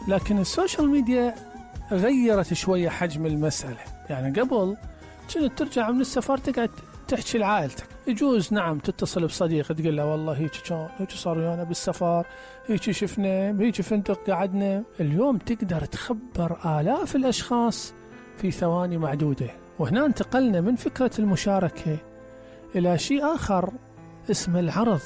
لكن السوشيال ميديا غيرت شوية حجم المسألة. يعني قبل كنت ترجع من السفر تقعد تحكي لعائلتك، يجوز نعم تتصل بصديق تقول له والله هيك كان هيك صار ويانا بالسفر، هيك شفنا، هيك فندق قعدنا. اليوم تقدر تخبر آلاف الأشخاص في ثواني معدودة. وهنا انتقلنا من فكرة المشاركة إلى شيء آخر اسمه العرض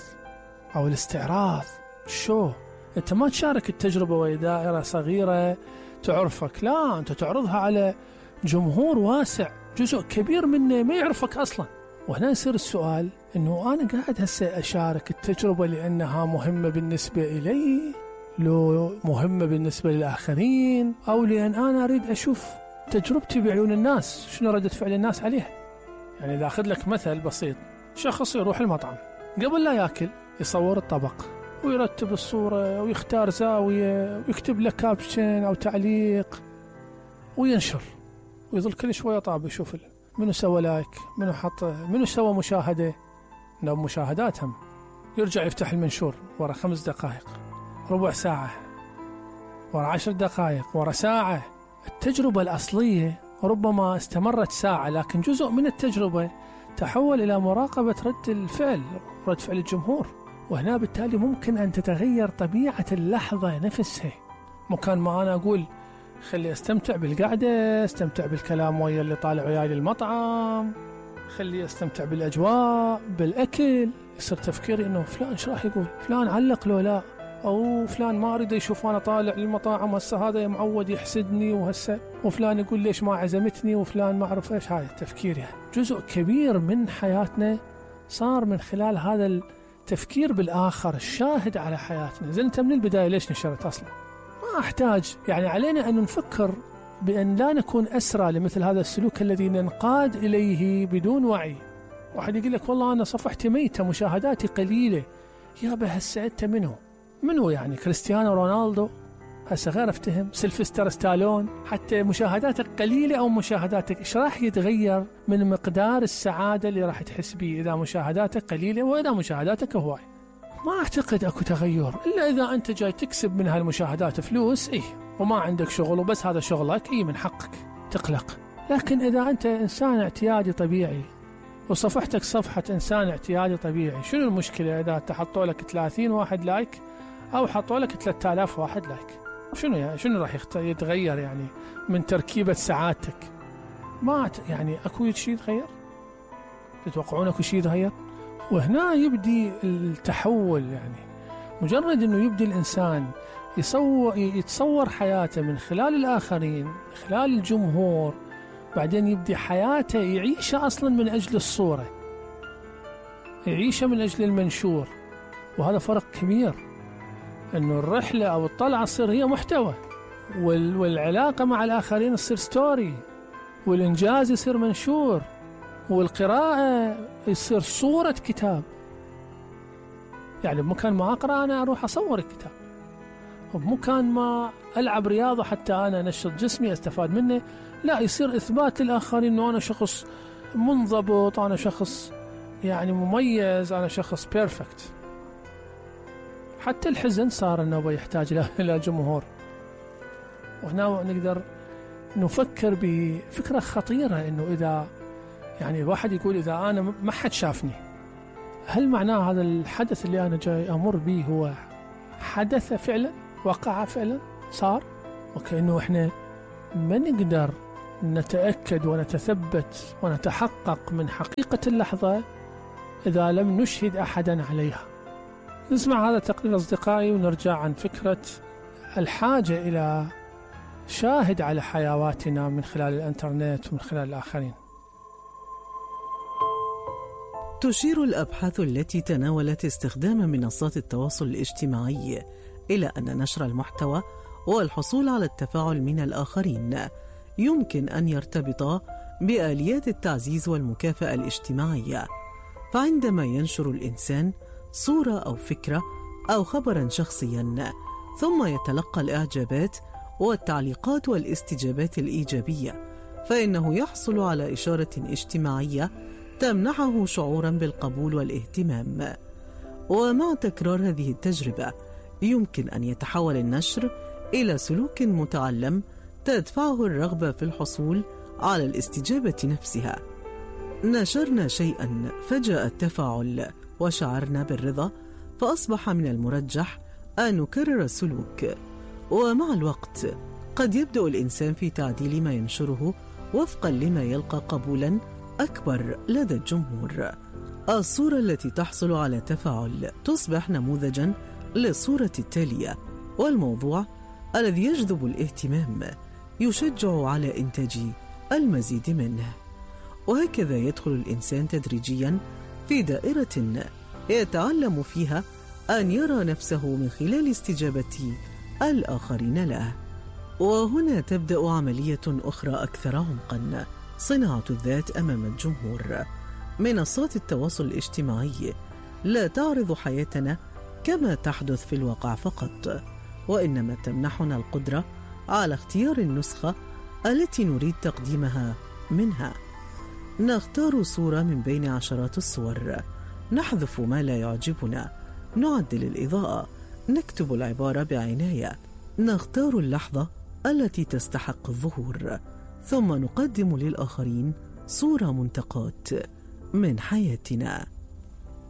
أو الاستعراض. شو أنت ما تشارك التجربة وهي دائرة صغيرة تعرفك، لا أنت تعرضها على جمهور واسع، جزء كبير منه ما يعرفك أصلا. وهنا يصير السؤال إنه أنا قاعد هسه أشارك التجربة لأنها مهمة بالنسبة إلي، لو مهمة بالنسبة للآخرين، أو لأن أنا أريد أشوف تجربتي بعيون الناس، شنو ردة فعل الناس عليها. يعني إذا أخذ لك مثل بسيط، شخص يروح المطعم قبل لا يأكل يصور الطبق ويرتب الصورة ويختار زاوية ويكتب لك كابشن أو تعليق وينشر، ويظل كل شوية طاب يشوف منو سوى لايك، منو حط، منو سوى مشاهدة، لو مشاهداتهم. يرجع يفتح المنشور ورا 5 دقائق، ربع ساعة، ورا 10 دقائق، ورا ساعة. التجربة الأصلية ربما استمرت ساعة، لكن جزء من التجربة تحول إلى مراقبة رد الفعل، رد فعل الجمهور. وهنا بالتالي ممكن أن تتغير طبيعة اللحظة نفسها. مكان ما أنا أقول خلي استمتع بالقعدة، استمتع بالكلام ويا اللي طالع وياي للمطعم، خلي استمتع بالأجواء بالأكل، يصير تفكيري إنه فلان إيش راح يقول، فلان علق لو لا، أو فلان ما أريد يشوف أنا طالع للمطاعم، هسه هذا معود يحسدني، وهسه وفلان يقول ليش ما عزمتني، وفلان ما أعرف إيش. هذا التفكير يعني جزء كبير من حياتنا صار من خلال هذا التفكير بالآخر، الشاهد على حياتنا. زين أنت من البداية ليش نشرت أصلا؟ ما أحتاج، يعني علينا أن نفكر بأن لا نكون أسرى لمثل هذا السلوك الذي ننقاد إليه بدون وعي. واحد يقول لك والله أنا صفحتي ميتة، مشاهداتي قليلة. يابا هسه أنت منو يعني كريستيانو رونالدو؟ هسه غير افتهم سيلفستر ستالون، حتى مشاهداتك قليلة أو مشاهداتك، إيش راح يتغير من مقدار السعادة اللي راح تحس به إذا مشاهداتك قليلة وإذا مشاهداتك هواي؟ ما أعتقد أكو تغير إلا إذا أنت جاي تكسب من هالمشاهدات فلوس، وما عندك شغل وبس هذا شغلك، من حقك تقلق. لكن إذا أنت إنسان اعتيادي طبيعي وصفحتك صفحة إنسان اعتيادي طبيعي، شنو المشكلة إذا تحطوا لك 30 واحد لايك أو حطوا لك 3000 واحد لايك؟ شنو راح يتغير يعني من تركيبة سعادتك؟ ما يعني أكو شيء يتغير؟ تتوقعون أكو شيء يتغير؟ وهنا يبدي التحول. يعني مجرد أنه يبدي الإنسان يتصور حياته من خلال الآخرين، من خلال الجمهور، بعدين يبدي حياته يعيشها أصلا من أجل الصورة، يعيشها من أجل المنشور. وهذا فرق كبير، أنه الرحلة أو الطلعة تصير هي محتوى، والعلاقة مع الآخرين تصير ستوري، والإنجاز يصير منشور، والقراءة يصير صورة كتاب. يعني بمكان ما أقرأ أنا أروح أصور الكتاب، وبمكان ما ألعب رياضة حتى أنا نشط جسمي أستفاد منه، لا يصير إثبات للآخرين أنه أنا شخص منضبط، أنا شخص يعني مميز، أنا شخص بيرفكت. حتى الحزن صار أنه يحتاج إلى جمهور. وهنا نقدر نفكر بفكرة خطيرة، أنه إذا يعني الواحد يقول إذا أنا ما حد شافني، هل معناه هذا الحدث اللي أنا جاي أمر به هو حدث فعلا، وقع فعلا، صار؟ وكأنه إحنا ما نقدر نتأكد ونتثبت ونتحقق من حقيقة اللحظة إذا لم نشهد أحدا عليها. نسمع هذا التقرير أصدقائي ونرجع عن فكرة الحاجة إلى شاهد على حيواتنا من خلال الإنترنت ومن خلال الآخرين. تشير الأبحاث التي تناولت استخدام منصات التواصل الاجتماعي إلى أن نشر المحتوى والحصول على التفاعل من الآخرين يمكن أن يرتبط بآليات التعزيز والمكافأة الاجتماعية. فعندما ينشر الإنسان صورة أو فكرة أو خبرا شخصيا، ثم يتلقى الإعجابات والتعليقات والاستجابات الإيجابية، فإنه يحصل على إشارة اجتماعية تمنحه شعورا بالقبول والاهتمام. ومع تكرار هذه التجربة يمكن أن يتحول النشر إلى سلوك متعلم تدفعه الرغبة في الحصول على الاستجابة نفسها. نشرنا شيئا فجاء التفاعل وشعرنا بالرضا، فأصبح من المرجح أن نكرر السلوك. ومع الوقت قد يبدأ الإنسان في تعديل ما ينشره وفقا لما يلقى قبولا أكبر لدى الجمهور. الصورة التي تحصل على تفاعل تصبح نموذجا للصورة التالية، والموضوع الذي يجذب الاهتمام يشجع على إنتاج المزيد منه. وهكذا يدخل الإنسان تدريجيا في دائرة يتعلم فيها أن يرى نفسه من خلال استجابة الآخرين له. وهنا تبدأ عملية أخرى أكثر عمقا، صناعة الذات أمام الجمهور. منصات التواصل الاجتماعي لا تعرض حياتنا كما تحدث في الواقع فقط، وإنما تمنحنا القدرة على اختيار النسخة التي نريد تقديمها منها. نختار صورة من بين عشرات الصور، نحذف ما لا يعجبنا، نعدل الإضاءة، نكتب العبارة بعناية، نختار اللحظة التي تستحق الظهور، ثم نقدم للآخرين صورة منتقاة من حياتنا.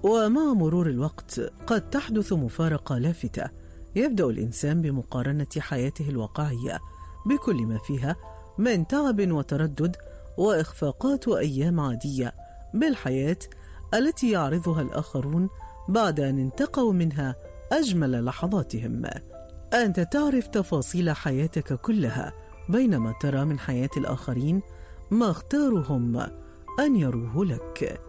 ومع مرور الوقت قد تحدث مفارقة لافتة، يبدأ الإنسان بمقارنة حياته الواقعية بكل ما فيها من تعب وتردد وإخفاقات وأيام عادية بالحياة التي يعرضها الآخرون بعد أن انتقوا منها أجمل لحظاتهم. أنت تعرف تفاصيل حياتك كلها، بينما ترى من حياة الآخرين ما اختارهم أن يروه لك.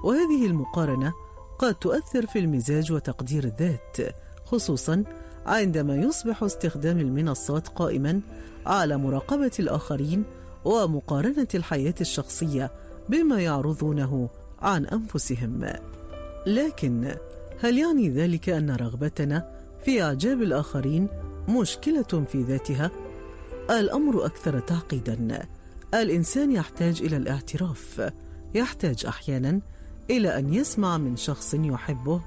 وهذه المقارنة قد تؤثر في المزاج وتقدير الذات، خصوصا عندما يصبح استخدام المنصات قائما على مراقبة الآخرين ومقارنة الحياة الشخصية بما يعرضونه عن أنفسهم. لكن هل يعني ذلك أن رغبتنا في إعجاب الآخرين مشكلة في ذاتها؟ الأمر أكثر تعقيدا. الإنسان يحتاج إلى الاعتراف، يحتاج أحيانا إلى أن يسمع من شخص يحبه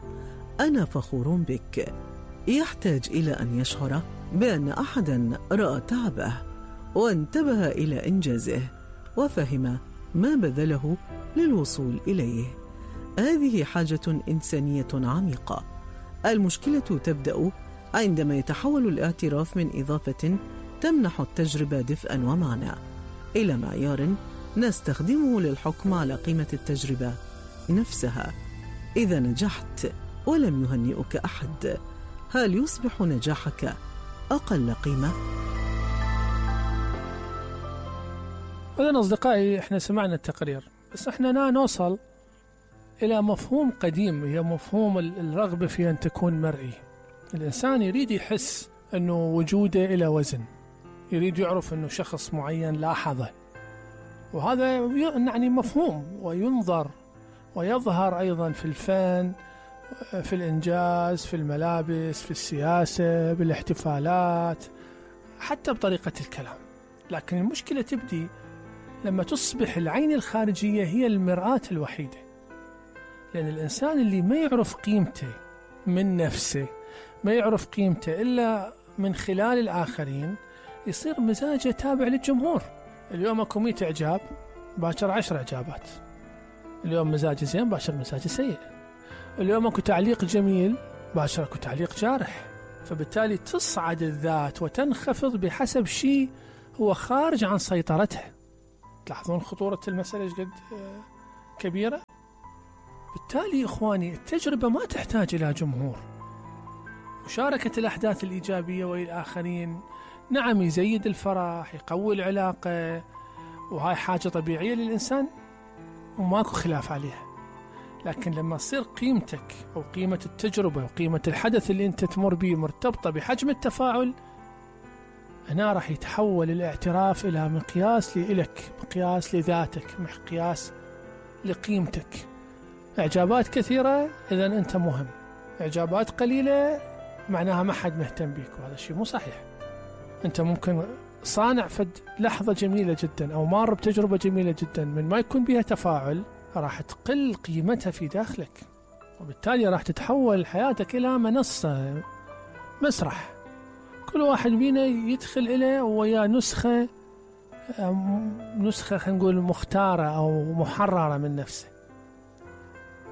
أنا فخور بك، يحتاج إلى أن يشعر بأن أحدا رأى تعبه وانتبه إلى إنجازه وفهم ما بذله للوصول إليه. هذه حاجة إنسانية عميقة. المشكلة تبدأ عندما يتحول الاعتراف من إضافة تمنح التجربة دفئا ومعنى إلى معيار نستخدمه للحكم على قيمة التجربة نفسها. إذا نجحت ولم يهنئك أحد، هل يصبح نجاحك أقل قيمة؟ إذن أصدقائي، إحنا سمعنا التقرير، بس إحنا نوصل إلى مفهوم قديم، هي مفهوم الرغبة في أن تكون مرئي. الإنسان يريد يحس أنه وجوده إلى وزن، يريد يعرف أنه شخص معين لاحظه، وهذا يعني مفهوم وينظر ويظهر أيضا في الفن، في الإنجاز، في الملابس، في السياسة، بالاحتفالات، حتى بطريقة الكلام. لكن المشكلة تبدي لما تصبح العين الخارجية هي المرآة الوحيدة، لأن الإنسان اللي ما يعرف قيمته من نفسه، ما يعرف قيمته إلا من خلال الآخرين، يصير مزاجه تابع للجمهور. اليوم أكو 100 إعجاب، باكر 10 إعجابات. اليوم مزاجي زين، باكر مزاجي سيء. اليوم أكو تعليق جميل، باكر أكو تعليق جارح. فبالتالي تصعد الذات وتنخفض بحسب شيء هو خارج عن سيطرتها. تلاحظون خطورة المسألة قد كبيرة؟ بالتالي إخواني، التجربة ما تحتاج إلى جمهور. مشاركة الأحداث الإيجابية والآخرين نعم يزيد الفرح، يقوي العلاقة، وهاي حاجة طبيعية للإنسان وماكو خلاف عليها. لكن لما تصير قيمتك أو قيمة التجربة وقيمة الحدث اللي أنت تمر به مرتبطة بحجم التفاعل، هنا راح يتحول الاعتراف إلى مقياس لإلك، مقياس لذاتك، مقياس لقيمتك. إعجابات كثيرة إذن أنت مهم، إعجابات قليلة معناها ما حد مهتم بيك، وهذا الشيء مو صحيح. أنت ممكن صانع فد لحظة جميلة جدا أو مار بتجربة جميلة جدا، من ما يكون بها تفاعل راح تقل قيمتها في داخلك، وبالتالي راح تتحول حياتك إلى منصة، مسرح، كل واحد بينا يدخل إليه ويا نسخة خلينا نقول مختارة أو محررة من نفسه،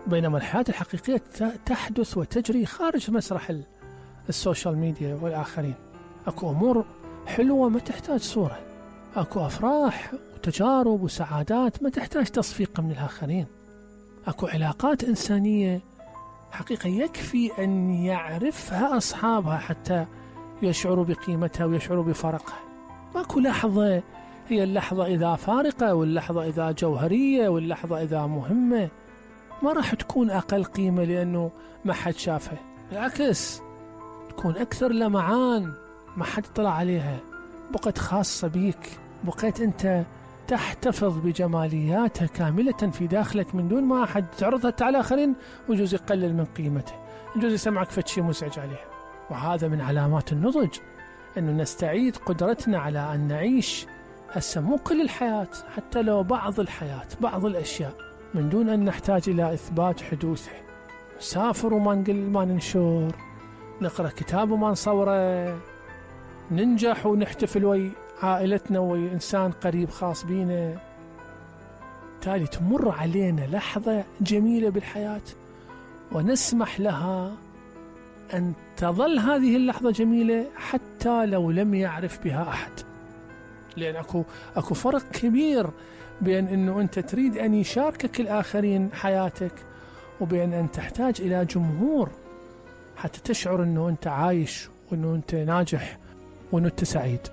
بينما الحياة الحقيقية تحدث وتجري خارج مسرح السوشيال ميديا والآخرين. أكو أمور حلوة ما تحتاج صورة، أكو أفراح وتجارب وسعادات ما تحتاج تصفيق من الآخرين، أكو علاقات إنسانية حقيقة يكفي أن يعرفها أصحابها حتى يشعروا بقيمتها ويشعروا بفرقها. ماكو لحظة هي اللحظة إذا فارقة واللحظة إذا جوهرية واللحظة إذا مهمة ما راح تكون أقل قيمة لأنه ما حد شافها، بالعكس تكون أكثر لمعان، ما حد طلع عليها، بقت خاصة بيك، بقيت أنت تحتفظ بجمالياتها كاملة في داخلك من دون ما أحد تعرضها على آخرين، ويجوز يقلل من قيمته، يجوز يسمعك فشي مزعج عليها. وهذا من علامات النضج، أنه نستعيد قدرتنا على أن نعيش هسه مو كل الحياة، حتى لو بعض الحياة، بعض الأشياء، من دون أن نحتاج إلى إثبات حدوثه. نسافر وما نقل ما ننشر، نقرأ كتاب وما نصوره، ننجح ونحتفل وي عائلتنا وي إنسان قريب خاص بينا. تالي تمر علينا لحظة جميلة بالحياة ونسمح لها أن تظل هذه اللحظة جميلة حتى لو لم يعرف بها أحد، لأن أكو فرق كبير بين أنه أنت تريد أن يشاركك الآخرين حياتك وبين أن تحتاج إلى جمهور حتى تشعر أنه أنت عايش وأنه أنت ناجح وأنه أنت سعيد.